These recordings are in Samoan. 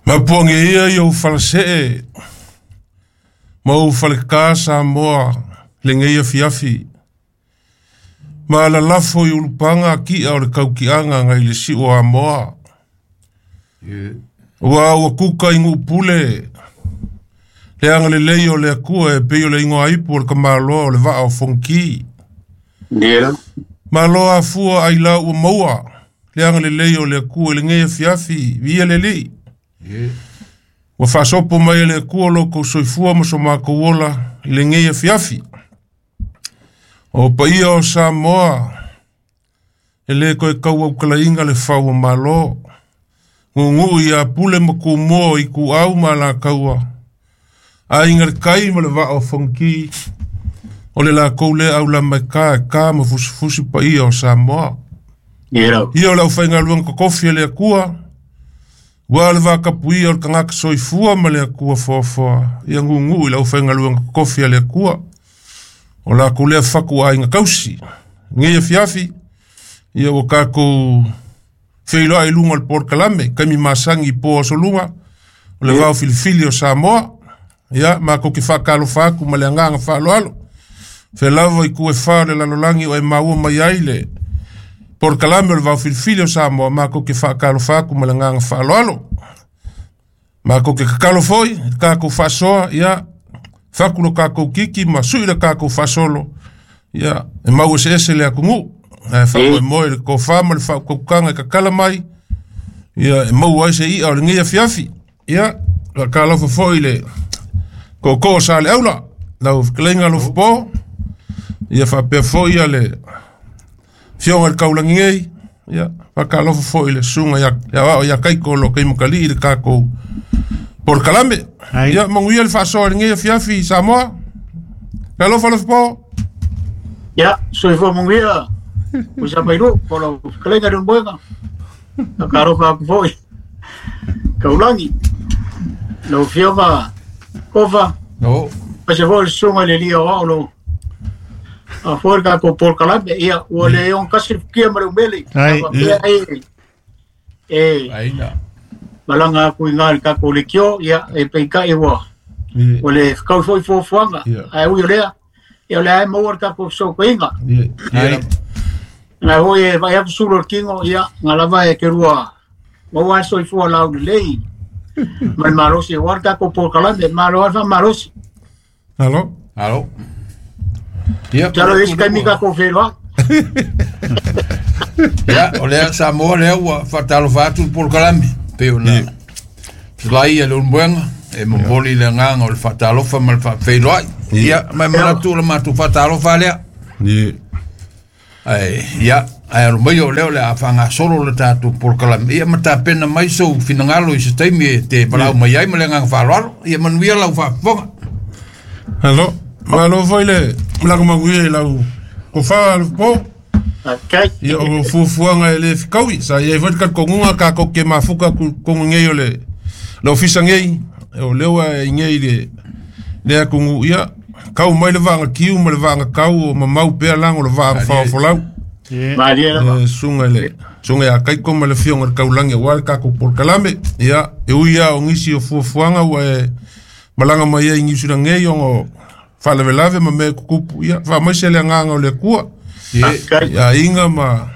Mapuangi ia i ou falasee ma ou faleka Samoa lenei afiafi. Ma lalafo i ulupaga ki'a o le kauki'aga nai le si'u o Amoa. Ua ua kuka i Nu'upule le agalelei o le Atua e pei o le igoa ipu o le tamaloa o le vaa o Fonoti. Malo afua ailao ua maua le agalelei o le Atua i lenei afiafi, viia le Alii. Ua faasopo mai e le Atua lo outou soifua ma so matou ola i lenei afiafi. O paia o Samoa, e le toe tauautalaina le fau o Malo. Gugu ia Pule ma Tumua, Ituau ma Alataua, Aiga i le Tai ma le Vaa o Fonoti, o le latou lea aulama e ta e ta ma fusifusi paia o Samoa. Ia o le aufaigaluega totofi a le Atua, ua le vatapuia o le tagata soifua ma le Atua foafoa, ia gugu i le aufaigaluega totofi a le Atua. O latou lea fatu aiga tausi. Nei afiafi, ia ua tatou feiloai i luga o le polokalame, taimi masani i po aso lua, o le vao filifili o Samoa. Ia, matou te faatalofa atu ma le agaga faaaloalo. Fea lava i tu e fa o le lalolagi o e maua mai ai le polokalame o le vao filifili o Samoa, matou te faatalofa atu ma le agaga faaaloalo. Matou te tatalo foi, le tatou faasoa, ia, faku lo tatou kiki ma sui le tatou faasolo, ia, e mau eseese le atunuu. Ae faamoemoe le tofa ma le faautautaga e tatala mai, ia, e maua ai se i'a o lenei afiafi. Ia, faatalofa foi i le tootoo o Saleaula, lau fetalaiga Alofapo, ia faapea foi ia le afioga i le Taulagi nei, ia, faatalofa foi i le susuga ia Aoao ia Kaiko o lo o taimatalii le tatou polokalame. Ia, manuia le faasoa i lenei afiafi Samoa. Alofa Alofapo. Ia, soifua manuia, Musa Mailu, po lau fetalaiga Leulumoega. Faatalofa atu foi, Taulagi, lau Afioga Kofa, aemaise foi le susuga i le Alii Aoao o lo o faafoe le tatou polokalame. Ia, ua le ogatasi le futia ma le umele. Ai. A faapea e malaga atu i ina i le tatou leitio, ia, e peitai ua le fetaui foi fuafuaga. Ae ui o lea, ia o lea e maua le tatou fesootaiga. Na foi e vaai atu sulu o le tino, ia, na lava e te lua maua le soifua laulelei ma le malosi aua le tatou polokalame. Malo lava le faamalosi. Alo. Alo. Ia, Masalo e i ai se taimi tatou feiloai. Ia, o lea Samoa lea ua faatalofa atu le polokalame, pei ona fetalai a Leulumoega, e momoli le agaga o le faatalofa ma le faafeiloai. Ia, ma e manatu o le matou faatalofa lea. Ae, ia, ae alo mai o lea o le a faagasolo le tatou polokalame, ia ma tapena mai sou finagalo i se taimi e te valaau mai ai ma le agaga faaaloalo. Ia manuia lau faafofoga. Alo. Malo foi le malaga manuia i lau tofa Alofapo. Okay. Ia o fuafuaga e le fetaui. Sa i ai foi le talitonuga tatou te mafuta atu i totonu nei o le ofisa nei, o lea ua i nei le le atunuu, ia, tau mai le vaaga tiu ma le vaaga tau o mamau pea lago o le vaaga faofolau. Malie lava. E susuga i le susuga ia Kaiko ma le afioga i le Taulagi aua le tatou polokalame. Ia, e ui lava o nisi o fuafuaga ua e malaga mai ai i Niu Sila nei ona o faalavelave ma mea e tutupu, ia, faamaise le agaga o le Atua Okay. i aiga ma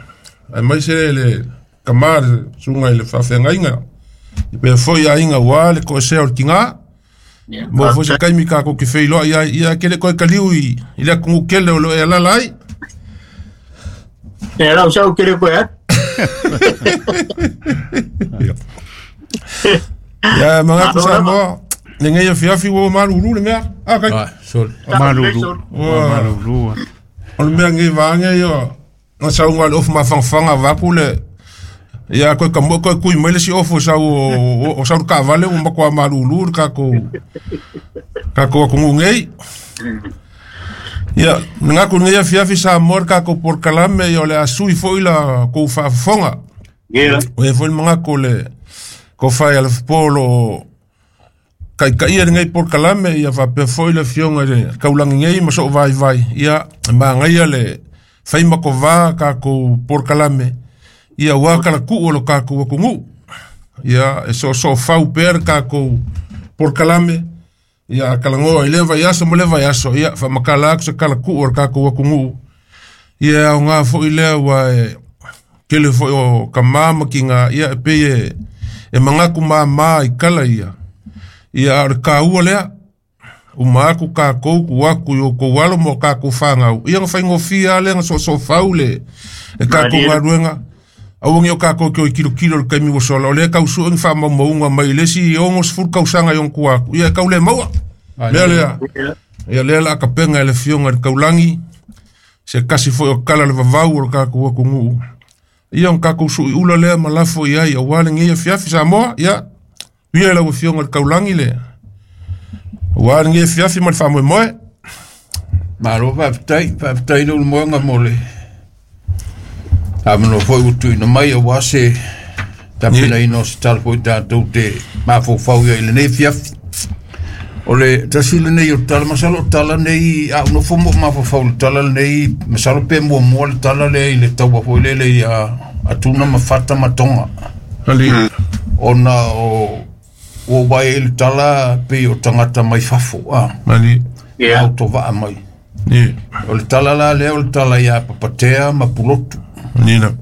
aemaise le tama le susuga i le faafeagaiga, i pea foi aiga aua le toesea o le tiga. Mo foi se taimi tatou te feiloai ai, ia ke le toe taliu i le atunuu tele o lo o e alaala ai. E lau sau kere koe atu. Ia manatu Malo lava. Samoa, lenei afiafi ua malulu le mea. Ah, kai. Ah, sorry. Malulu. Ua Malulu. o le mea nei vaega ia, na sau le ofu mafangafaga vaeatu le ia koe ka koe kui mai le isi ofu e sau o sau le taavale ua matua malulu le tatou atunuu nei. Ia, manatu i lenei afiafi Samoa le tatou polokalame, ia o le a sui foi la kou faafofoga. O ia foi le manatu o le tofa ia Alofapo o lo o taitaia lenei polokalame, ia faapea foi le afioga i le Taulagi nei ma soo vaivai, ia e magaia le faimakovā tatou polokalame, ia aua talatuu o lo tatou atunuu. Ia e soosoo pea le takou polokalame. Ia kalagoa i lea vaiaso ma lea vaiaso. Ia faamakala atu se kalakuu o le takou atunuu. Ia aoga foʻi lea ua e tele foʻi o kamā ma tiga. Ia e pei e manatu māmā i kala ia. Ia a o le kāua lea uma atu takou tuu atu i outou alo ma o takou fanau. Ia na faigofie a lea na soosoo le takou galuega. Aua ni o takou ke o i kilokilo le taimi ua sola. O lea tausue ni faamaumauga mai le isi 60 tausaga i ona tua atu. Ia e tau le maua. Mea lea. Ia lea la kapenga e le fioga i le taulagi. Se kasi foi o kala le vavau o le takou atunuu. Ia ona takou suiula lea ma lafo i ai aua lenei afiafi Samoa. Ia ia lau afioga i le taulagi le aua lenei afiafi ma le faamoemoe. Malo faafetai, faafetai le ulumoega mo le avanoa foi ua tuuina mai aua se tapenaina o se tala foi tatou te mafaufau ia i lenei afiafi. O le tasi lenei o tala, masalo o tala nei, a unofo mo mafaufau le tala lenei, masalo pe muamua le tala lea i le taua foi lele i Atuna ma Fata ma Tonga. Ali. Ona o ua vai i le tala pei o tagata mai fafo, Ali. Autovaa mai. O le tala la lea o le tala ia Papatea ma Pulotu. Nina.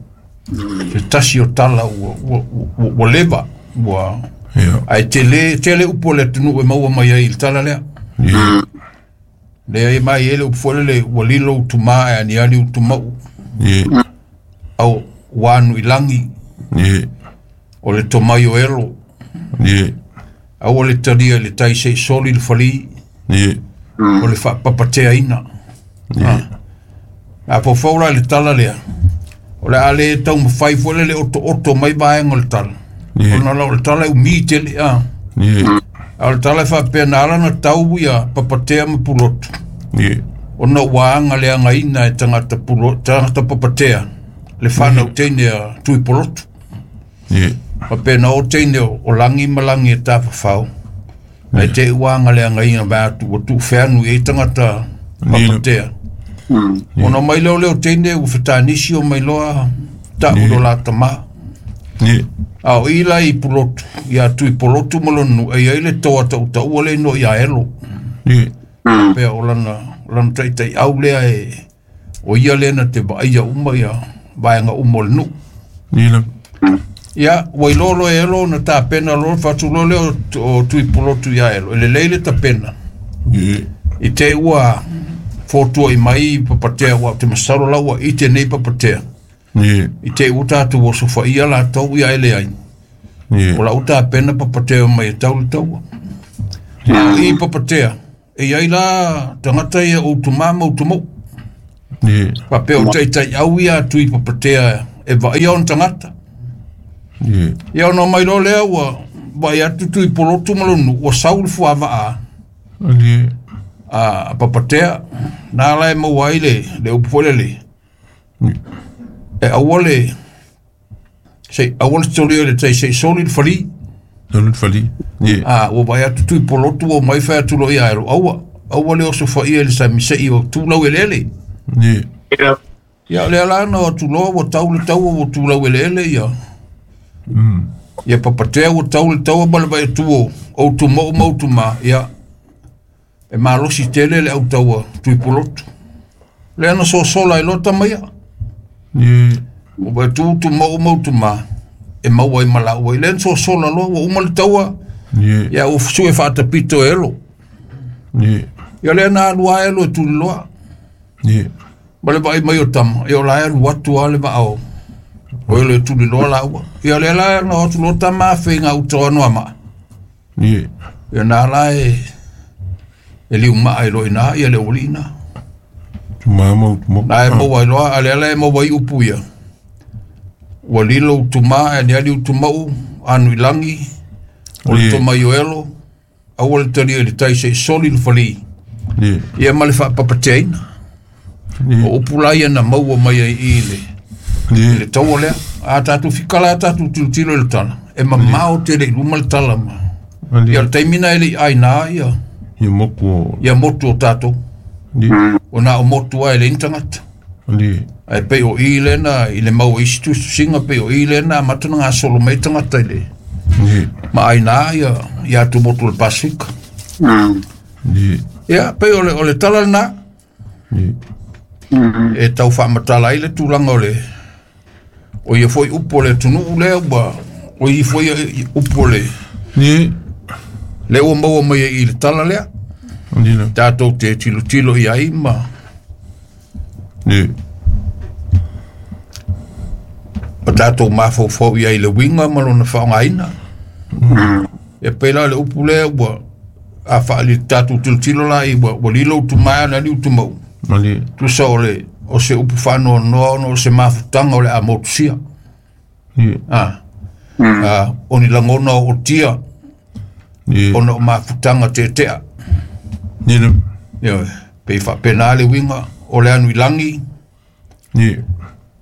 Se tasi o tala ua leva, ua ai tele upu o le atunuu e maua mai ai i le tala lea. Lea e mai ele upu foi lele ua lilo utumā e aniani utumau. Au ua anu i lagi. O le tomai o elo. Au o le talia i le tai sei soli le fali. O le faapapateaina. A faufau la i le tala lea. O le a le taumafai foi lele otooto mai vaega o le tala. Ona la o le tala e umi tele. A o le tala e faapea na ala na tau ia Papatea ma Pulotu. Ona ua aga leagaina e tagata tagata Papatea le fanau teine a Tui Polotu. Faapea na o teine o lagi ma lagi e tafafao. Ae te ua aga leagaina vai atu ua tuufeanu i ai tagata Papatea. Ona mai lea o leo teine ua fetanisi o mai loa ta'u lo la tamā. A o i la i Pulotu, ia Tui Polotu ma lona nuu, e iai le toa tautaua le igoa ia Elo. Pea o lana taitaiau lea e o ia lea na te vaaia uma ia vaega uma o le nuu. Ia, ua iloa loa e Elo na tapena loa le faatuloa lea o Tui Polotu ia Elo. E lelei le tapena. I te ua fotuai mai Papatea ua te masalo la ua ite nei Papatea. I te ua tatou osofaia latou ia ele ai. O lau tapena Papatea mai e tau le taua. A o i Papatea, e iai la tagata ia o utumā ma utumou. Faapea o taitaiau ia Tui Papatea e vaaia ona tagata. Ia ona mai loa lea ua vaai atu Tui Polotu ma lona nuu ua sau le fuavaa a Papatea. Na la e maua ai le upu foi lele. E aua le sei aua le tolia le tai sei soli le fali. A ua vai atu Tui Polotu ua mai fai atu loa ia Elo. Aua aua le osofaia i le sami sei o tulau eleele. Ia o lea la na o atu loa ua tau le taua ua tulau eleele ia. Ia Papatea ua tau le taua ma le vai atu o utumou ma utumā. Ia e malosi tele le autaua Tui Polotu. Lea na sosola ai loa tamaia. Ua vai atu utumou ma utumā e maua ai ma laua. Lea na sosola loa ua uma le taua. Ia ua sue faatapito e Elo. Ia lea na alu a Elo e tuliloa. Ma le vaai mai o tama, ia o la e alu atu a le vaa o Elo e tuliloa laua. Ia lea la na o atu loa tama afe i gauta o Anoamaa. Ia na la e liumaa ai loa ina ia le aualii na. Na e maua ai loa, a lea la e maua ai upu ia. Ua lilo utumā e aniani utumau, anu i lagi, o le tomai o Elo, aua le talia i le tai sei soli le fali. Ia ma le faapapateaina. O upu la ia na maua mai ai i le taua lea. A tatou fikala a tatou tilotilo i le tala, e mamao tele i luma le tala ma. Ia le taimi na e le i aina ia. Ia motu o tatou. O na o motu ai le ni tagata. Ai pei o i lena i le maua isi tusitusiga pei o i lena amata na gasolo mai tagata i le Ma aina ia ia atumotu o le Pasifika. Ia pei o le tala lena e tau faamatala ai le tulaga o le o ia foi upu o le atunuu lea ua o ia foi upu o le le ua maua mai ai i le tala lea tatou te tilotilo i ai ma ma tatou mafaufau i ai le uiga ma lona faaaogaina. E pei la o le upu lea ua a faali tatou tilotilo la i ua lilo utumaea na ali utumau tusa o le o se upu faanoanoa ona o se mafutaga o le a motusia. O ni lagona o otia ona o mafutaga tetea. Ioe, pei faapena le uiga o le anu i lagi,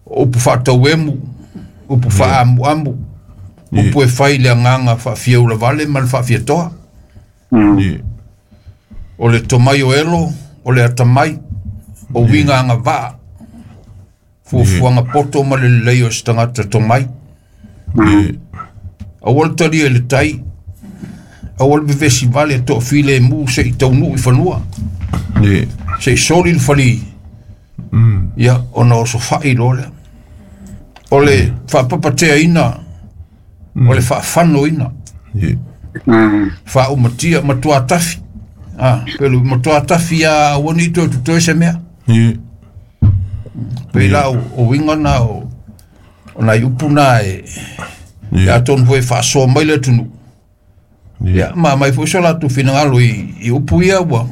o upu faatauemu, upu faaamuamu, upu e fai le agaga faafiaulavale ma le faafiatoa. O le tomai o elo, o le atamai, o uiga agavaa, fuafuaga poto ma le lelei o se tagata tomai. Aua le talia i le tai, aua le vevesi vale e toafilemu se i taunuu i fanua, se i soli le fali, ia ona osofai loa lea. O le faapapateaina, o le faafanoina, faaumatia, matua tafi. Pelu matua tafi a aua ni toe totoe se mea. Pei la o uiga na o nai upu na e atonu foi e faasoa mai le atunuu. Ia ma mai foi so latou finagalo i upu ia ua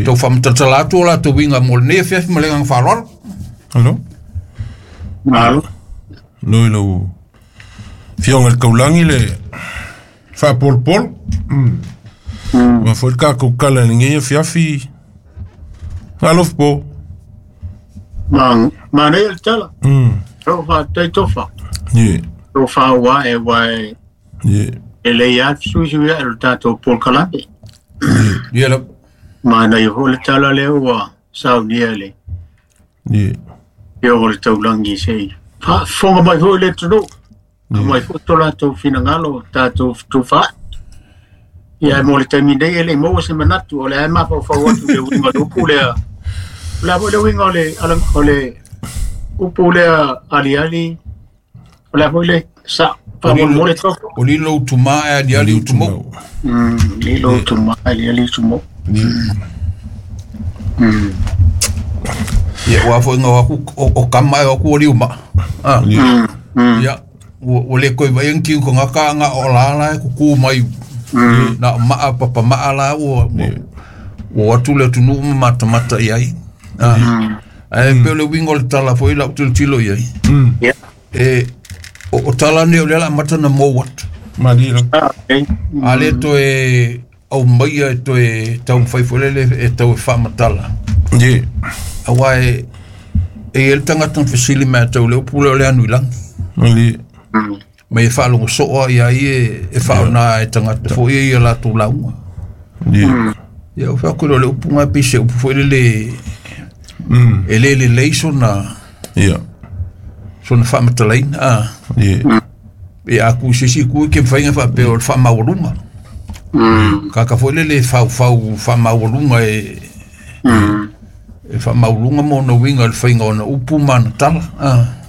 tau faamatalatala atu o latou uiga mo lenei afiafi ma le agaga faaaloalo. Alo? Malo. Noi lau fioga i le taulagi le faapolopolo. Ma foi le tatou kala i lenei afiafi. Alofa po. Ma nei le tala. Ro fa tai tofa. Ro fa wa e wa e le ia sui ia le tatou polokalame. Ia la. Ma nei ho le tala le ua saunia le. Ia o le taulangi sei. Fa fonga mai ho le tunu. Mai fo to latou finagalo tatou tufa. Ia mo le taimi nei e le maua se manatu o le ai mafaufau atu le uiga o le upu lea. O le a foi le uiga o le upu lea aliali, o le a foi le sa faamolemole tofa. O lilo utumaa e aliali utumau. Lilo utumaa e aliali utumau. Ia ua foi ngau aku o kama e aku o liuma. Ia ua le koe vai ang kiu ko ngaka nga o la la e kuku mai. Na maa papa maa la ua ua atu le atunuu ma matamata i ai. Ae pe o le uiga o le tala foi lau tilotilo i ai. E o tala nei o lea la amata na mou atu. A le toe au maia e toe taumafai foi lele e tau e faamatala. Aua e i ai le tagata na fesili mai atau le upu lea o le anu i lagi. Ma e faalogo soo ia ai e faaoga e tagata foi ia latou lauga. Ia o fai atu le upu ga pei se upu foi lele e le lelei sona sona faamatalaina. E a ku se isi ku ke mafai ona faapea o le faamaualuga. Kaka foi lele faufau faamaualuga e faamaualuga ma ona uiga i le faiga o ona upu ma ona tala.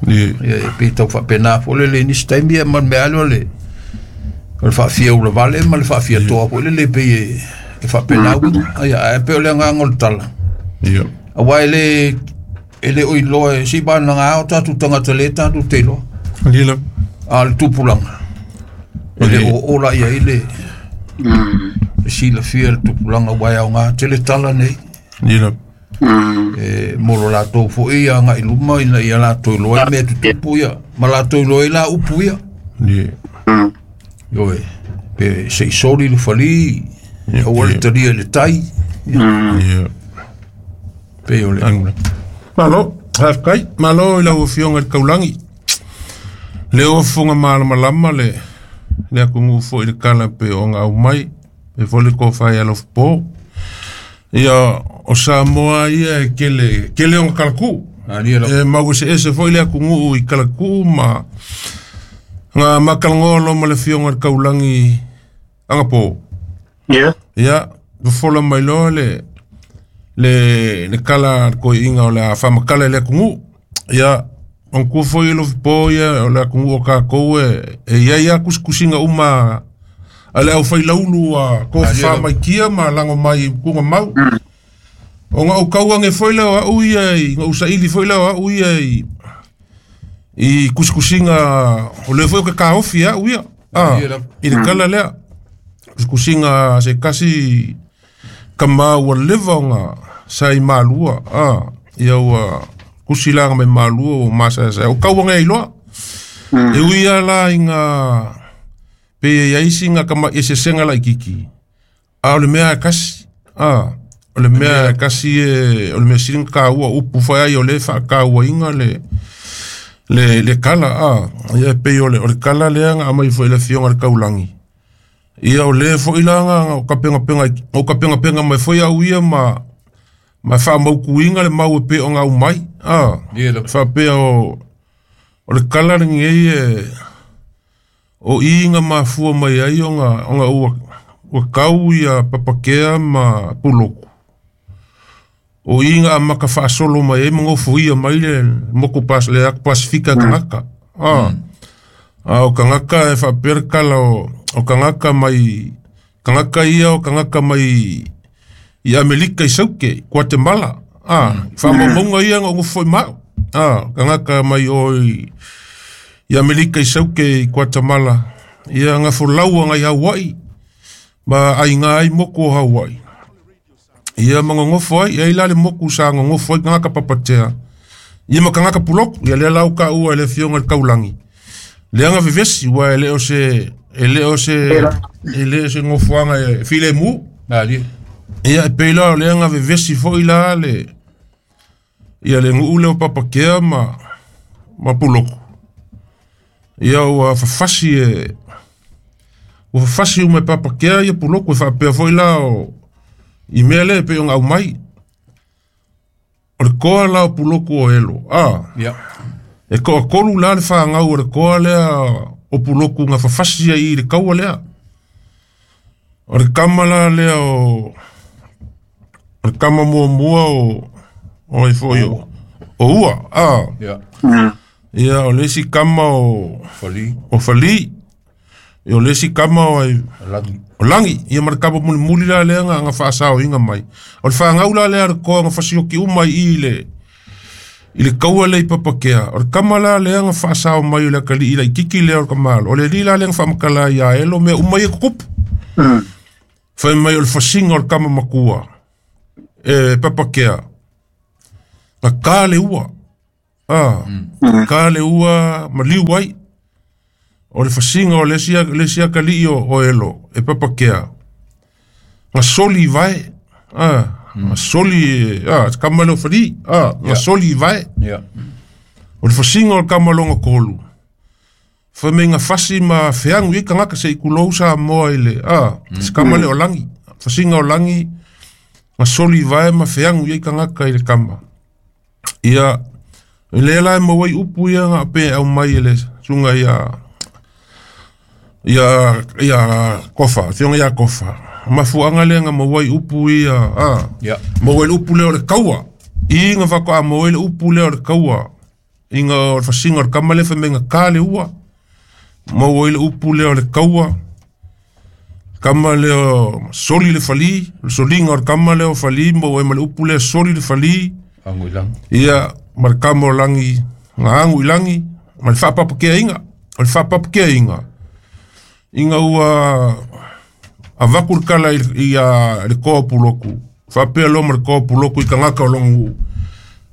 Ia e pei tau faapena foi lele i nisi taimi ia ma le mea lea o le faafiaulavale ma le faafiatoa foi lele pei e faapena uiga. Ia ae pei o le agaga o le tala. Aua e le o iloa e si vanaga o tatou tagata le tatou te iloa. A le tupulaga e le o ola ia i le silafia le tupulaga ua e aoga tele tala nei. E mo lo latou foi ia agai luma ina ia latou iloa ai mea tutupu ia ma latou iloa ai la upu ia. Ioe, pe se i soli le fali, aua le talia i le tai. Pe o le Malo, hafkai, malo i lau afioga i le taulagi. Le ofoga malamalama le atunuu foi i le kala pe o ona aumai, pe foi le tofa i alofa po. Ia o Samoa ia e kele ona kalakuu. E mau eseese foi le atunuu i kalakuu ma Nga makalongoa loa ma le afioga i le Kaulagi agapo. Ia. Ia, fofola mai loa le le le kala a le toeaina o le a faamatala i le atunuu. Ia, manatua foi e Lofipo ia o le atunuu o tatou e i ai lava tusitusiga uma a le aufailaulu a tofafa mai tia ma lago mai i tugamau. Ona ou tau ane foi lea o au ia i, na ou saili foi lea o au ia i i tusitusiga o lea foi ou te taofi e au ia i le tala lea. Tusitusiga a se tasi tama ua leva ona sa i Malua, ia ua tusi laga mai Malua ua masaesae. O tau ane ai loa. E ui lava la ina pei e i ai sina tamai eseesega laitiiti, a o le mea lava e tasi, o le mea lava e tasi e, o le mea sili ona taua, o upu foi ai o lea e faatauaina le le tala, ia e pei o le tala lea na aumai foi e le Afioga i le Taulagi. Ia o lea foi la na ou tapenapena ou tapenapena mai foi au ia ma ma faamautuina le mau e pei ona aumai, faapea o le tala lenei e o i na mafua mai ai ona ona ua ua tau ia Papakea ma Puloku. O i na amata faasolo mai ai ma nofoia mai le motu pas, le atu Pasifika e tagata. A o tagata e faapea le tala o, o tagata mai, tagata ia o tagata mai i Amerika i Sauke, Guatemala. Faamaumauga ia na ou nofo foi ma au. Tagata mai o i, i Amerika i Sauke i Guatemala. Ia na folau agai Hawaii ma aiga ai motu o Hawaii. Ia ma nonofo ai, e ai la le motu sa nonofo ai tagata papatea. Ia ma tagata puloku, ia lea la ua taua e le Afioga i le Taulagi. Lea na vevesi, ua e le o se, e le o se, e le o se nofoaga e filemu. Ia e pei la o lea na vevesi foi la le, ia le nuu lea o Papakea ma, ma Puloku. Ia ua fafasi e, ua fafasi uma e Papakea ia Puloku e faapea foi la o, i mea lea e pei ona aumai. O le toa la o Puloku o Elo, Ia. E toatolu la le fanau o le toa lea o Puloku na fafasi ai i le taua lea. O le tama la lea o, o le tama muamua o, o ai foi o, o Ua, Ia. Ia, o le isi tama o, Fali. o Fali. Ia, o le isi tama o ai, Lagi. o Lagi. Ia ma le tama mulimuli la lea na, na faasaoina mai. O le fanau la lea a le toa na fasioki uma i i le, i le taua lea i Papakea. O le tama la lea na faasao mai o le atalii laitiiti lea o le tamalo. O le alii la lea na faamatala ai ia Elo mea uma ia tutupu. Fai mai o le fasiga o le tama matua e Papakea, na ta le ua. Ta le ua maliu ai. O le fasiga o le isi le isi atalii o, o Elo e Papakea, na soli i vae. Na soli, tama lea o Fali, na soli i vae. Ia. O le fasiga o le tama lona tolu, fai mai na fasi ma feagu i ai tagata se i tulou Samoa i le, se tama lea o Lagi. Fasiga o Lagi, na soli i vae ma feagu i ai tagata i le tama. Ia, o lea la e maua ai upu ia na pe aumai e le susuga ia ia ia Kofa, afioga ia Kofa. Mafuaaga lea na maua ai upu ia, Ia. maua ai le upu lea o le taua. I na faatoa maua ai le upu lea o le taua. Ina o le fasiga o le tama lea fai mai na ta le ua. Maua ai le upu lea o le taua. Tama lea o soli le fali, o le soliga o le tama lea o Fali, maua ai ma le upu lea soli le fali. Ago i lagi. Ia, ma le tama o Lagi, na agu i lagi, ma le faapapakeaina. O le faapapakeaina, ina ua avatu le tala i, i, a, le toa o Puloku, faapea loa ma le toa o Puloku i tagata o lona nuu,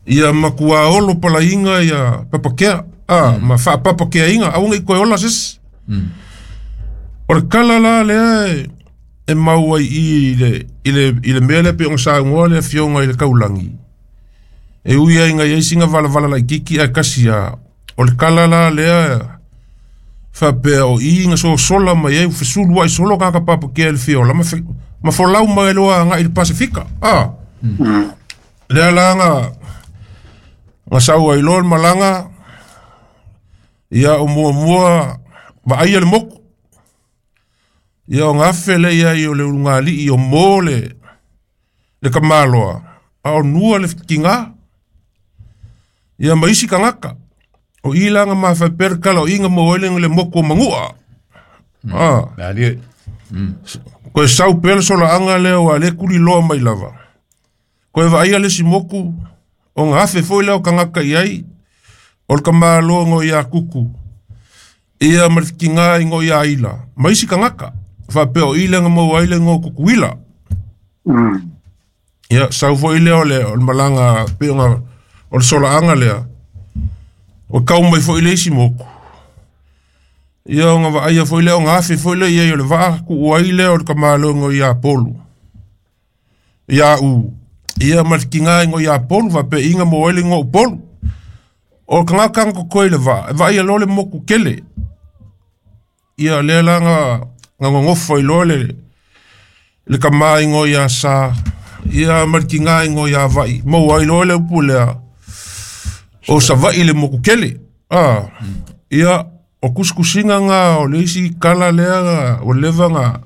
ia matua olo palaiga ia Papakea, ma faapapakeaina, aua ne i toe ola se isi. O le tala la lea e, e mau ai i i le, i le, i le mea lea pei ona saunoa le Afioga i le Taulagi, e ui ai ina i ai sina valavala laitiiti ae tasi lava, o le tala la lea faapea o i na sosola mai ai, ua fesuluai solo tagata papakea i le fia ola ma, fe, ma folau mai loa agai i le Pasifika. Lea la na, na sau ai loa le malaga, ia o muamua Vaaia le moku. Ia o ngafe le ia i o le ulugalii o mo le kamaloa. A o nua le kinga. Ia maisi kangaka. O ilanga mawhai perkala o inga mo ele le moku o mangua. Koe sau pele sola anga lea wa le kuli loa mai lava. Koe vaaia le si moku o ngafe foi leo kangaka iai. O le kamaloa ngo ia kuku. Ia marfikinga ingo ia ila. Maisi kangaka. Whapea o ile nga maua ile ngo kukuila. Ia, sau foi lea o le malanga peo o le sola anga lea. O kau mai foi le isi moku. Ia o nga vaaia foi lea o ngafe foi lea ia o le vaa ku uai lea o le kamaloa ia polu. Ia u. Ia marfikinga ingo ia polu whapea inga maua ile ngo polu. O kangaka nga koe le vaa. Vaa ia lo le moku kele. Ia lea la nga ngongofo i loa le kama ingo ia sa. Ia markinga ingo ia vai. Maua i loa le upu lea. O sa vai le moku kele. Ia o kuskusinga nga o le isi kala lea nga o leva nga.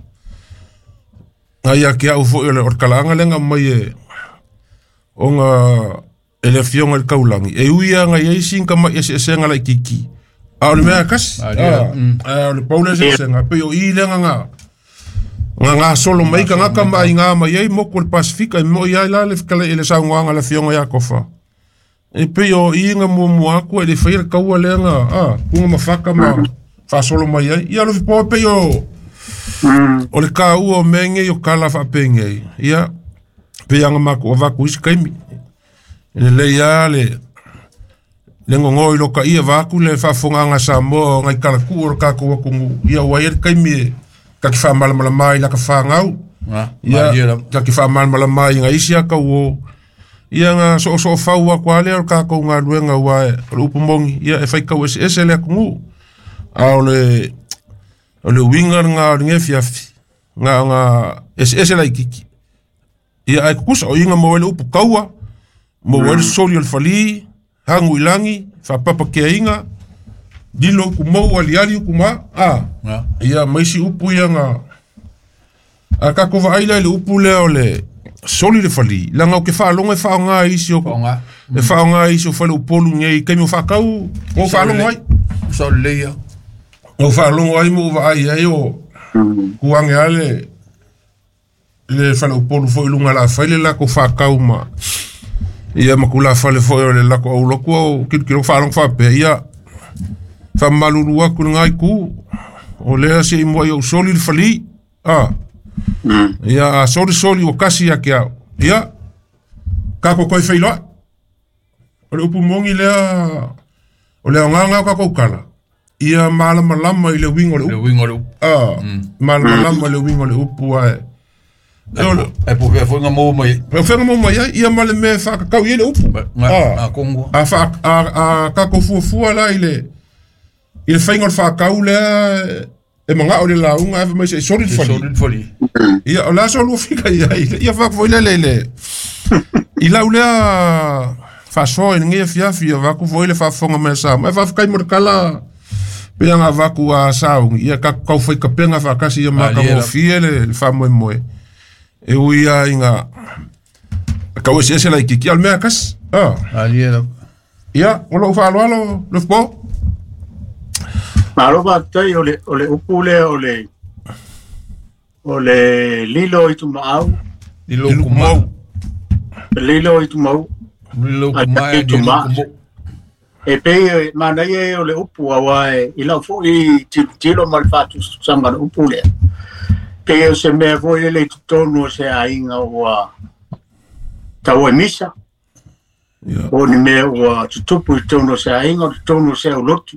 Nga ia kia ufo i le orkalaanga lenga mai e. O nga ele fionga le kaulangi. E uia nga ia isi inka mai ese ese nga lai kiki. A o le mea kasi. A o le paule ese ese nga. Pe o i lenga nga. Nga solo mai ka ngaka mai ngā mai ei moku le Pasifika. E mo ia la le kala ele sau ngā le fionga ia kofa. E pe o i nga mua aku e le whaira kaua lea nga. Kunga mawhaka ma whasolo mai ai. Ia lo fipo pe o. O le ka ua o menge i o kala whaapenge. Ia. Pe anga maku o vaku isi kaimi. Le lea le ngongo i loka ia vaku le whafonganga Samoa ngai kalaku o kako wakungu. Ia wai e kaimi e kaki whaamalamala mai laka whangau. Ia kaki whaamalamala mai ngai isi aka o. Ia ngā so so whau a kwa lea o kako ngā luenga ua e o le upumongi. Ia e whaikau ese ese lea kungu. A o le winga ngā o le ngefiafi. Ngā ngā ese ese lai kiki. Ia ai kukusa o inga mo ele upu kaua. Mo wele soli o le fali, hangu ilangi, whapapa kea inga, dilo uku mau aliali uku ma, ia maisi upu ia nga, a kako vaaila le upu lea o le soli le fali, langa o ke whaalonga e whaonga isi o, e whaonga isi o whale upolu ngei, kaimi o whakau, o whaalonga ai. Soli leia. O whaalonga ai mo vaai ai o, kuange ale, le whale upolu fo ilunga la whaile la ko whakau ma. Ia makula whale foi o le lako au loku au kilo whalong whapea. Ia whamalulu aku ngai ku o lea se imua i au soli le fali. Ia a soli soli o kasi ia kia. Ia kako koe whailoa. O le upu mongi lea o lea ngā ngā kako ukala. Ia malamalama i le wingo le upu. Le wingo le upu. Malamalama i le wingo le upu ae. E po fea whainga mō mai. E whainga mō mai ai, ia male me whakakau i le upu. Ngā kongua. A kako fuafua la i le whainga o le whakau lea e manga o le launga e mai se soli le fali. Soli le fali. Ia o la solu fika ia ia whakafo i le le. I lau lea whasoa i ngia fiafi ia wakufo i le whafonga mea sa. E whawhakai mo le kala pea ngā waku a saungi. Ia kakau whai kapenga whakasi ia maka mōfie le whamoe moe. E ui a inga kau ese ese lai kiki al mea kasi. Ia, o lou whaaloalo, le fpo. Malo wātai o le upu lea o le lilo i tumaau. Lilo kumau. Lilo i tumau. Lilo kumau. Lilo kumau. E pei mana ia o le upu awa e i lau fo i tilo ma le faatusanga le upu lea. Pe o se mea foi ele i totonu o se aiga ua tau e misa. O ni mea ua tutupu i totonu o se aiga o totonu o se aulotu.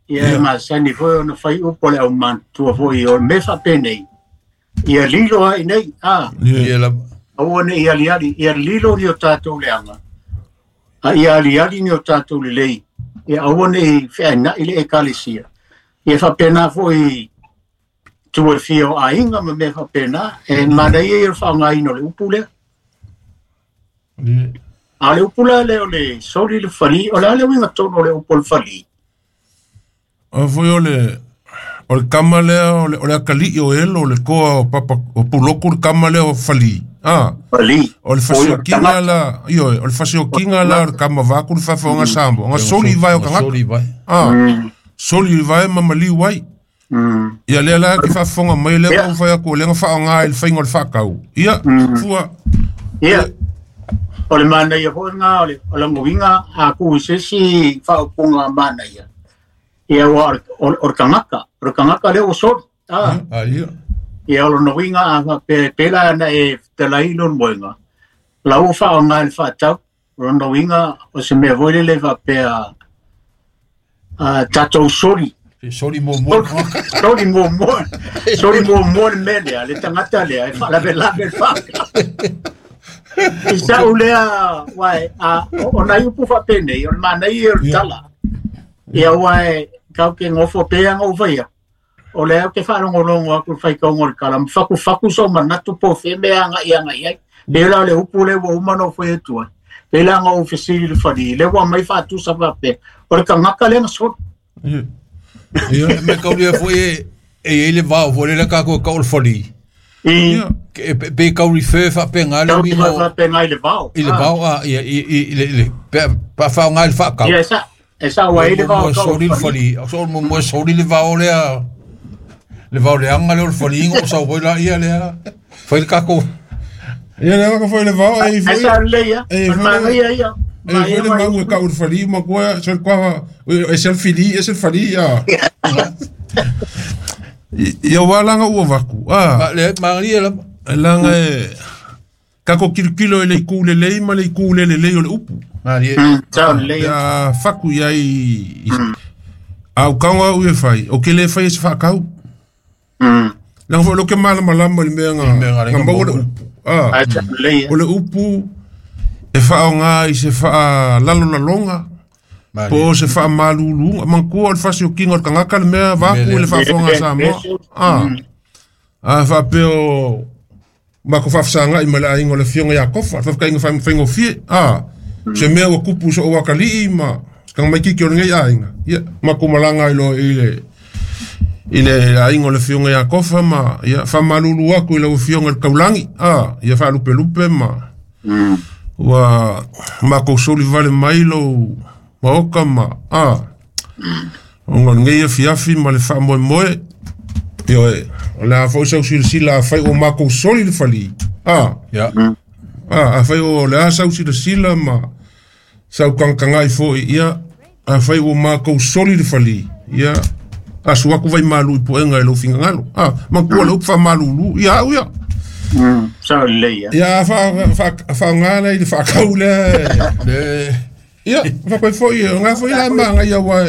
Ia e masani foi ona fai upu o le aumātua foi o le mea faapenei. Ia lilo ai nei, aua ne i aliali, ia lilo ni o tātou leaga. A ia aliali ni o tātou lelei. Ia aua ne i feaina'i le ekalesia. Ia faapena foi tua fia o aiga ma mea faapena, e manaia ia le faaaogaina o le upu lea. A le upu la lea o le soli le fali, o le a le uiga tonu o le upu o le fali. O foi o le O le kama lea o le akalii o elo o le toa o papa o puloku le kama lea o fali. Ah. Fali. O le fasiokiga la, ioe, o le fasiokiga la o le kama vaku le faafofoga Samoa. Ga soli i vae o tagata. Soli vai. Ah. Soli i vae ma maliu ai. Ia lea la ke faafofoga mai lea ua fai atu o lea na faaaoga i le faiga o le faakau. Ia, fua. Ia. O le manaia foi lena o le o lagoiga a kuu i se isi faaupuga manaia. Ia ua o le tagata, o le tagata lea ua soli. Ah. Ah, ia. Ia o lona uiga a faapea pe la na e fetalai lona moega, la ua faaaoga i le faatau. O lona uiga o se mea foi lele faapea a tatou soli. Soli muamua le tagata. Soli muamua. Soli muamua le mea lea, le tagata lea e faalavelave le faatau. I sa'u lea, uae, a, o nai upu faapenei, o le manaia o le tala. Ia uae, kau ke gofo pea ga ou faia. O lea ou te faalogologo atu i le faitauga o le tala, ma fakufaku sou manatu po o fea mea e agai agai ai. Pei la o le upu lea ua uma ona ou fai atu ai. Pei la ona ou fesili i le fali, lea ua aumai faatusa faapea, o le tagata lea na soli. Ia. Ia. Me kaulia foi e e i ai le vao foi lele tatou e tau o le fali. I Ia. Pe kau refer faapega le tau uiga o faapena i le vao. i le vao a ia i le pe pa faaaoga i le faakau. Ia e sa'u ai le vao Muamua tau o soli le le fali. fali. O so muamua soli le vao lea. Le vao leaga lea o le faliga o sau foi laia lea. Fai le tatou. Ia lea ka foi le vao e Ae foi. sa'u lelei a, E o le foi manaia ia. e foi le mau e kau le fali ma koa so kwa e se fili e se fali ia. Ia wala ua vaku. Ah. Ma le magalia lava. Langa e kako kilokilo i le iku lelei ma le iku le lelei o le upu. Malie. Sa'u lelei a. Ia faku ia i au kaunga au e fai, o ke le fai e se whaakau. Langa foi lo ke malamalama i le mea Le mea nga nga nga maua le maua. upu. Ah. Ae sa'u lelei a. O le upu e whaonga i se wha lalolaloga po o se whaamaluluga. Manatua o le fasiokiga o le tagata le mea vaku i le faafofoga a Samoa. Ah. A faapea o mako faafesagai ma le aiga o le afioga ia Kofa, le faafetaiga faigofie. Ah. Se mea ua kupu i soo akalii ma se tagamaititi o lenei aiga. Ia, makou malaga ai loa i le aiga o le afioga ia Kofa ma ia faamalulu atu i lau afioga i le taulagi. Ah, ia faalupelupe ma ua makou soli vale mai lou maoka ma ah ona o lenei afiafi ma le faamoemoe. Ioe, o le a foi sau silasila afai ua makou soli le falī. Ah. Ia. Ah, afai o le a sau silasila ma sau kagakagai foi ia afai ua makou soli le falī. Ia asu atu vaimalu i puega i lou finagalo. Ah, manatua le upu faamalulu ia au ia. Sa'u lelei a. Ia faaaoga lea i le faakau lea. Le Ia, faapea foi, o ngā foi la maga ia ua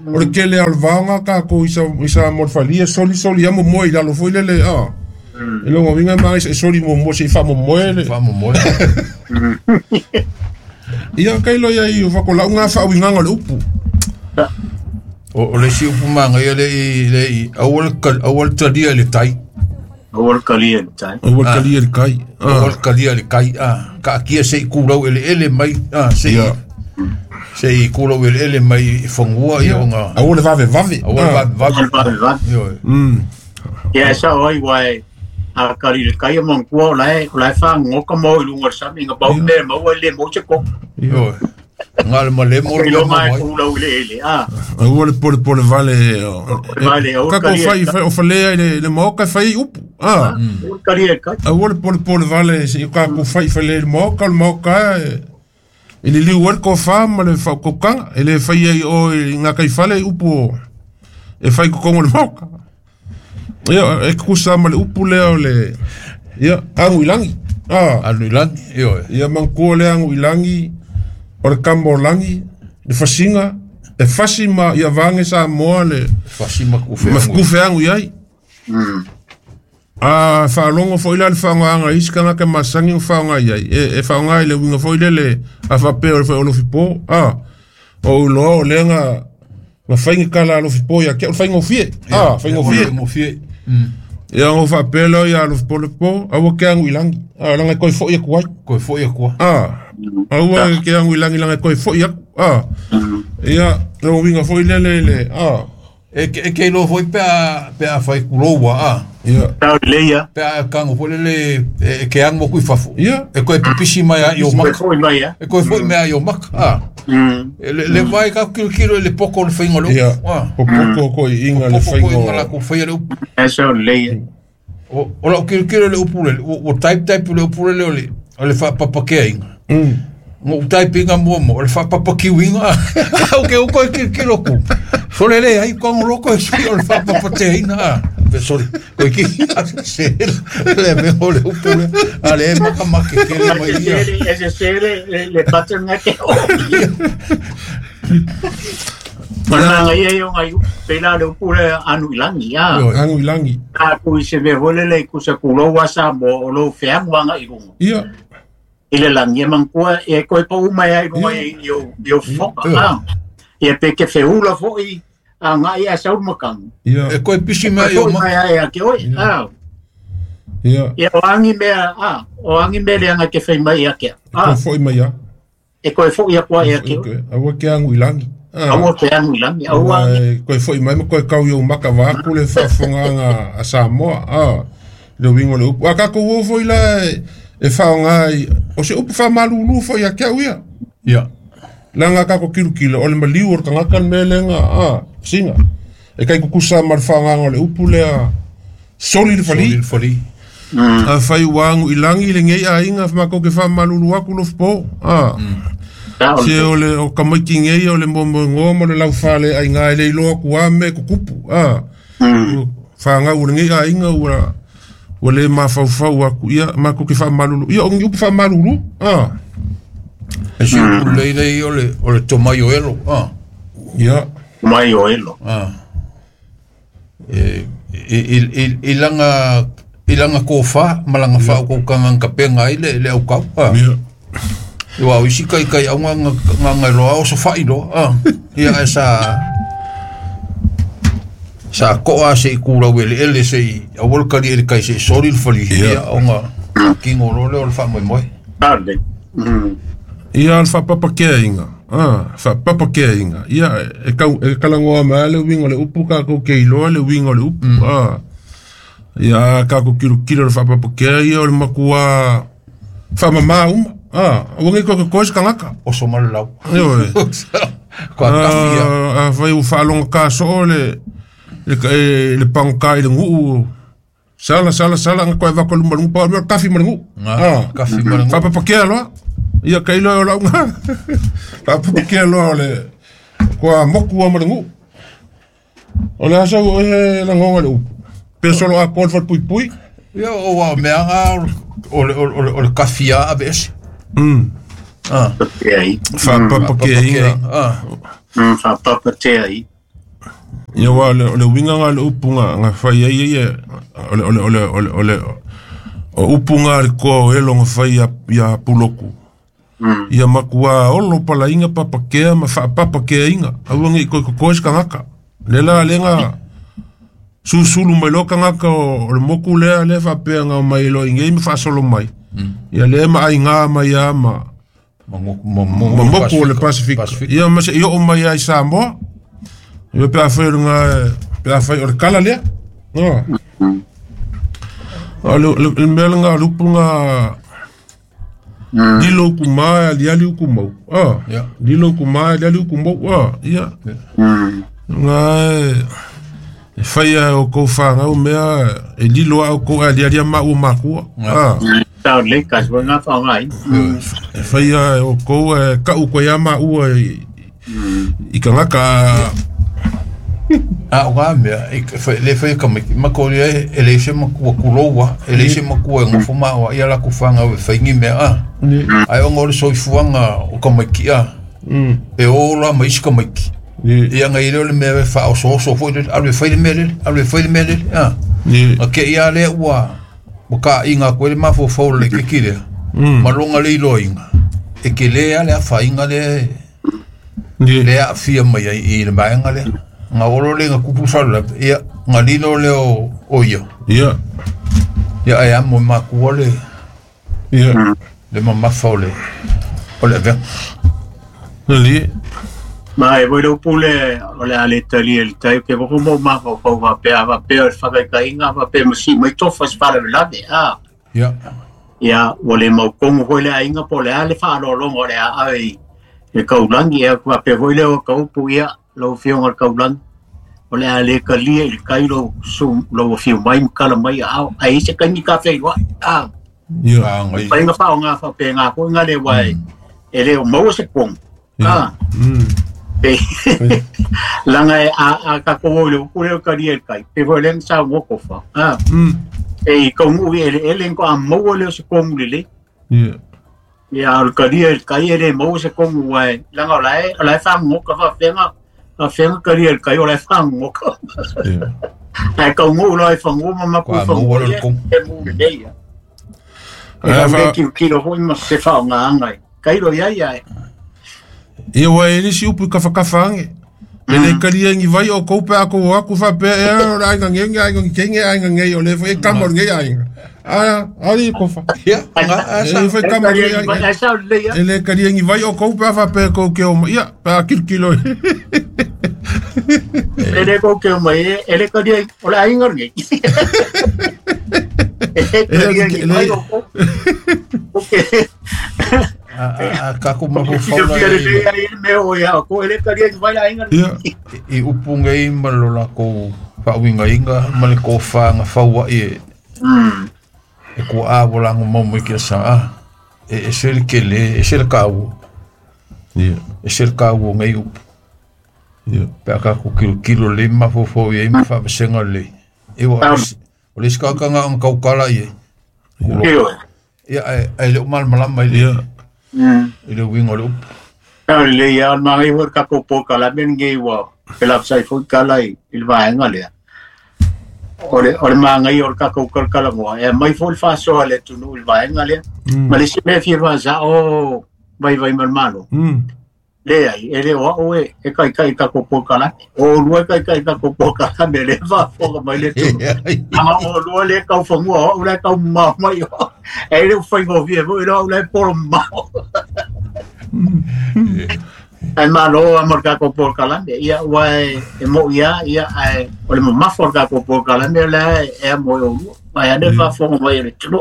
o le tele o le vaoga tatou i sa i sa mo le fali e soli soli ia momoe i lalo foi lele ah. E logo uiga maga e soli muamua se'i faamomoe le. Faamomoe. Ia kailo ia i o fakolau ngā faauigaga o le upu. O le isi upu magaia le i le i aua le aua le talia i le tai. Aua le kalia i le tai. Aua le talia i le kai. Aua le talia i le kai. Ah, kaatia se'i kulau eleele mai ah se'i Ia. se'i kulau eleele mai i fagua ia ona Aua le vavevave. aua le vavevave. Aua le vavevave. Ioe. Ia e sa'o ai uae a kali i le kai e manatua o la e fagogoka ma o i luga o le sami ga pau mea e maua e lē maua se koko. Ioe. Ga le malemo le mea Iloga e maua ai. kulau i le ele a. Aua le polepole vale. Vale, aua le Kako talia i fai le fai o falea i le maoka e fai ai upu. Ah. Aua le talia i le kai. Aua le polepole vale se'i tatou fai falea i le maoka, o le maoka e i le liu ai le tofa ma le faaukaukaga. E lē fai ai o i gataifale i upu o e fai i totonu o le maoka. Ia, e tutusa ma le upu lea o le ia agu i lagi. Ah. Alu i lagi. Ioe. Ia manatua le agu i lagi o le kama o lagi, le fasiga, e fasi ma ia vage Samoa le Fasi ma ma kufeagu. kufeagu i ai. A faalogo foi la le faaaogaga i isi tagata masani ma faaaoga i ai. E faaaoga i le uiga foi lele a faapea o le faiolofipo. Ah. O ou iloa o lea na fai ni kala alofipo ia te au le faigofie. Ah, faigofie. Faigofie. Ia ona ou faapea lea ia alofipo le po, aua ke agu i lagi. Ah, laga e toe fo'i atu ai. Toe fo'i atu ai. Ah. Aua ke agu i lagi laga e toe fo'i atu. Ah. Ia, le uiga foi lele i le ah. E ke iloa foi pe a fai kuloua a. Ia. Tau lelei a. Pe a kago foi lele e ke ago aku i fafo. Ia. E koe pipisi mai a i o maka. Foi mai a. E koe foi mea i o maka. A. Le vai ka kilokilo i le poko o le faiga o le Ia. upu. A. Popoko ko i inga le Poko ko faiga. inga la ko faia le upu. E sao lelei a. O lau kilokilo le upu lele. O type type le upu lele o le whaapapakeainga. Ngo type inga mua mo, o le whaapapakiuinga. Au ke uko e kilokilo ku. Sole le ai kongo loko e sui o le whaapapateaina. Pe sorry. Koe ki se le me o le upu le. A le maka make kele mai ia. E se le pattern nga ke o. Mana ia ia ngai pela le upu le anu ilangi a. Anu ilangi. A ku i se me hole le ku se kulo wasa mo o lo feamu anga i runga. Ia. I le langi e mangkua e koe pa uma ia i runga i o foka. Ia pe ke feula foi a ngai a sau makang. Ia. E koe pisi mai o maka. Ia ke oi. Ia. Ia o angi mea a o angi mea le anga ke whai mai a ke. E koe foi mai a. E koe foi a kua ia ke. Aua ke angu ilangi. Aua ke angu ilangi. Aua. Koe foi mai ma koe kau i o maka vaaku le whaafonganga a Samoa. Le wingo le upu. A kako uo foi la e whaonga i. O se upu whamalulu foi a kia uia. Ia. Langa kako kilokilo o le maliu o le kangaka le mea lenga singa. E kai kukusa ma le whaonganga o le upu lea soli le fali. Soli le fali. A whai wangu ilangi le ngei a inga whamako ke whamalulu aku lofpo. Se o le o kamaiki ngei o le momo ngoa mo le lauwhale a inga e le iloa kua me kukupu. Whaangau o le ngei a inga ua le mawhauwhau aku ia mako ke whamalulu. Ia o ngi upu whamalulu. E si upu leilei o le tomai o elo. Ia. Tomai o elo. I langa... I langa kōwha, ma langa wha o kau kapenga ai le au kau. Ia. Iwa o isi kai kai au ngā roa o so whai roa. Ia e sa... Sa koa se i kūrau ele ele se i awol kari ele kai se i sori le whali. Ia o ngā kingo role o le wha moi moi. Arde. Ia al whapapakea inga. Whapapakea inga. Ia e kalangoa mai le wingo le upu kako ke iloa le wingo le upu. Ia kako kilokilo le whapapakea ia o le makua whamamā uma. Ua ngi koe koe se kangaka. O so mara lau. Ioe. Kua kafi ia. A whai u whaalonga kā soo le pangoka i le nguu. Sala sala sala nga koe wako luma lungu pa o mea kafi ma le nguu. Kafi ma le nguu. Whapapakea loa. Ia kailoa o launga. Whapapakea loa o le kua moku ma le nguu. O le asa o e langonga le upu. Pe solo a koe pui pui. Ia o wā mea ngā o le kafi a awe ese. Whapapakea inga. Whapapakea i. Ia wā le winga ngā le upu ngā whai ai ia o le o upu ngā le koa o elo ngā whai ia puloku. Ia makua olo pala inga papakea ma whapapakea inga. Aua ngi koe koe se kangaka. Le la le ngā susulu mai lo kangaka o le moku lea le whapea ngā mai lo ingei me whaasolo mai. Ia le ma ai ngā mai a ma moku o le Pasifika. Ia ma se i o mai ai Samoa. Ia pe a whai o ngā pe a whai o le kala lea. O le mea ngā lupu ngā lilo kumā liali ukumau. Lilo kumā liali ukumau. Ia. Ngā e whai a o kou whangau mea e lilo a o kou a lialia ma ua makua. Tau le kasua ngā whangai. E whai a o kou e kau koe a ma ua i kangaka. A o ngā mea, le whai ka miki, makori e le se makua kuloua, e le se makua e ngofo maua, ia laku whangau e whaingi mea a. Ai o ngā ore soifuanga o ka maiki a. E o la maisi ka maiki. Ia ngai leo le mea wha o so foi le alu whai le mea lele, alu whai le mea lele. A ke ia le ua, ka inga koe le mafo fau le kiki lea. Malonga le iloa inga. E ke lea le a whainga le, le a whia mai ai i le maenga lea. Ngā oro le ngā kupu sala, ia ngā lilo le o ia. Ia. Ia e amo makua le, Ia. Le mamafa o le, o le avea. Nali. Ma e voi lau pule o le ale tali e le tai ke mo mo ma ko ko va pe va pe o fa ka inga va pe mo si mai tofa se fala lave a. Ia. Ia o le mau kongo foi le ainga po le ale fa lo longo le a ai e kaulangi e va pe voi le o kaupu ia lau fionga le kaulangi. O le ale kalia i le kai lo su lo fiu mai kala mai a ai se kai ka fe wa a. Ia. Ngai. Pa inga fa o nga fa pe nga ko nga le wai e le o mau se kong. A. Pe langa e a ka ko le ko le ka ri kai pe vo le sa ngo ko fa a e ko mu e le ko a mo le se ko mu le Ia. ya al ka ri kai le mo se ko mu ai langa la fa ngo ka fa fenga a fenga ka ri kai o la fa ngo ka Ia. ai ko mu lo fa ngo ma ko Kwa fa ngo le ko. e mu le ya Ae e fa- ki ki lo ho ma se fa nga ngai kai lo ya ya Ia wa e nisi upu i kawhakawha ange. E le karia ngi vai o koupe a kou aku wha pe e o le ainga ngenge, ainga ngenge, ainga ngei o le fo e kama o ngei ainga. Aia, ari kofa. Ia, nga E asa. le fo e kama o ngei ainga. ai sa le ya E le karia ngi vai o koupe a wha pe kou ke o ma. Ia, pe a kilkilo. Ele ko ke mai ele ka dia o la ingar ngi. Ele ka dia ngi o ko. O ke. A ka ko ma Ko fo ke fa dia le ai me o ya ko ele ka dia vai la ingar. Ia. I upu ngai ma lo la ko fa winga inga ma le ko fa nga fa wa e e ko a vola ngo mo mo ke sa a e se le ke le e se le ka wo Ia. e se le ka wo ngai upu Ia. pe ka ko kilo kilo le ma fo fo ye ma fa senga le e wa o le ska ka nga ang kau kala ye Ke o. ia e le mal mala mai le Ia. I le winga le upu Ka le ya ma ngai hor ka ko po ka la men ngi wa. Ke la sai fo ka la i il va inga le. O le ma ngai hor ka ko ka la mo. E mai fo fa so le tu nu il va inga le. Ma le se me fi va za o vai vai mal malo. Le ai e le o o e e kai kai ka ko po kala o lua kai kai ka ko po kala me le va fo mai le tu ama o lua le kau fangua o le kau ma mai o e le fai go vi e lo le por ma ai ma lo amor ka ko po kala me ia wa e mo ia ia ai o le ma fo ka ko po kala me le e mo o lua mai ane va fo mai le tu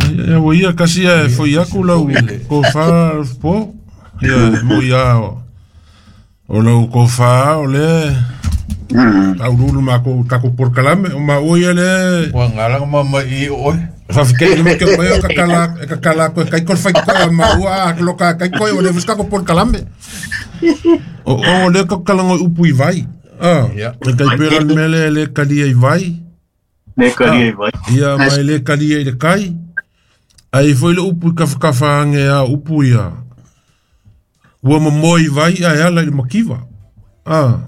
Ia wa ia kasi e fo iaku lau ko fa po. Ia mo ia o. O lau ko fa o le tau lulu ma ko kako por kalame o ma o ia le wa ngala ma ma i o Fa fiquei no que mai o kakala kakala ko kai ko fai ko ma ua lo ka kai ko o le fus kako por kalame. O o le ko kala ngo upu i vai. Ah, Ia. e kai pera mele le kalia i vai. ne ka ri vai Ia mai le kalia i le kai. Ai foi le upu i kawhakawha ange a upu ia. Ua mo moi vai a ala i le makiwa. Ah.